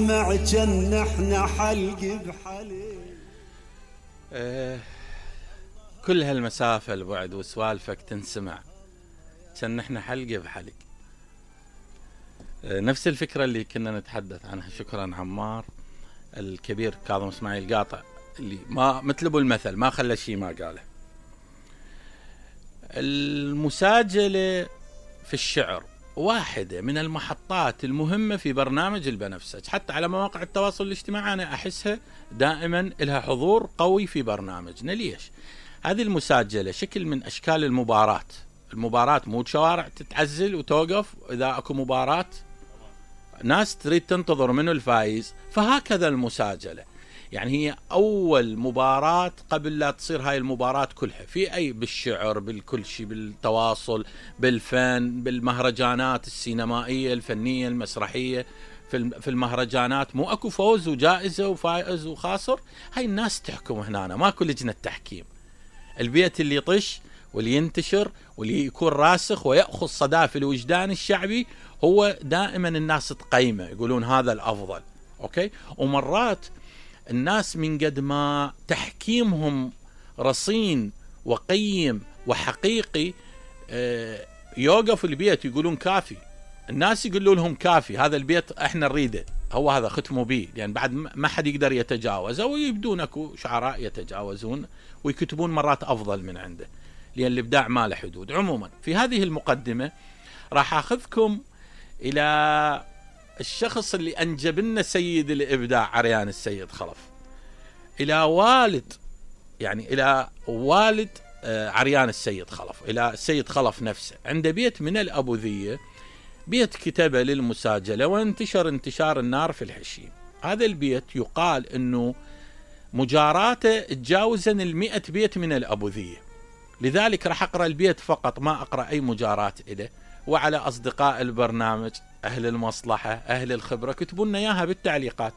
مع جن احنا حلق بحلق. كل هالمسافة البعد وسوالفك تنسمع كان احنا حلق بحلق. نفس الفكرة اللي كنا نتحدث عنها. شكرا عمار الكبير كاظم اسماعيل قاطع اللي ما مثل ابو المثل ما خلى شيء ما قاله. المساجلة في الشعر واحدة من المحطات المهمة في برنامج البنفسج، حتى على مواقع التواصل الاجتماعي أنا أحسها دائما لها حضور قوي في برنامجنا. ليش؟ هذه المساجلة شكل من أشكال المباراة. المباراة مو شوارع تتعزل وتوقف، إذا أكو مباراة ناس تريد تنتظر منه الفائز، فهكذا المساجلة. يعني هي أول مباراة قبل لا تصير هاي المباراة كلها في أي بالشعر بالكل شيء، بالتواصل، بالفن، بالمهرجانات السينمائية الفنية المسرحية. في المهرجانات مو أكو فوز وجائزة وفائز وخاسر، هاي الناس تحكم هنا، ماكو لجنة تحكيم. البيت اللي يطش واللي ينتشر واللي يكون راسخ ويأخذ صدى في الوجدان الشعبي هو دائما الناس تقيمه، يقولون هذا الأفضل. أوكي. ومرات الناس من قد ما تحكيمهم رصين وقيم وحقيقي يوقف البيت يقولون كافي. الناس يقولوا لهم كافي، هذا البيت احنا نريده، هو هذا ختموا به، لأن يعني بعد ما حد يقدر يتجاوزه، ويبدون اكو شعراء يتجاوزون ويكتبون مرات افضل من عنده، لأن الابداع ما له حدود. عموما في هذه المقدمة راح اخذكم الى الشخص اللي انجب لنا سيد الابداع عريان السيد خلف، الى والد، يعني الى والد عريان السيد خلف، الى السيد خلف نفسه. عنده بيت من الابوذيه، بيت كتبه للمساجله وانتشر انتشار النار في الحشيم. هذا البيت يقال انه مجاراته تجاوزا 100 بيت من الابوذيه، لذلك راح اقرا البيت فقط، ما اقرا اي مجارات له. وعلى اصدقاء البرنامج اهل المصلحه اهل الخبره كتبوا لنا اياها بالتعليقات،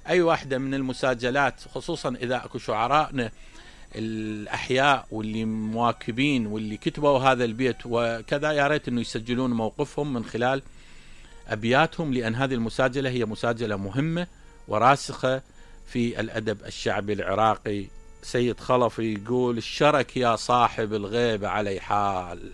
اي واحده من المساجلات، خصوصا اذا اكو شعرائنا الاحياء واللي مواكبين واللي كتبوا هذا البيت وكذا، يا ريت انه يسجلون موقفهم من خلال ابياتهم، لان هذه المساجله هي مساجله مهمه وراسخه في الادب الشعبي العراقي. سيد خلف يقول: الشرك يا صاحب الغيب علي حال.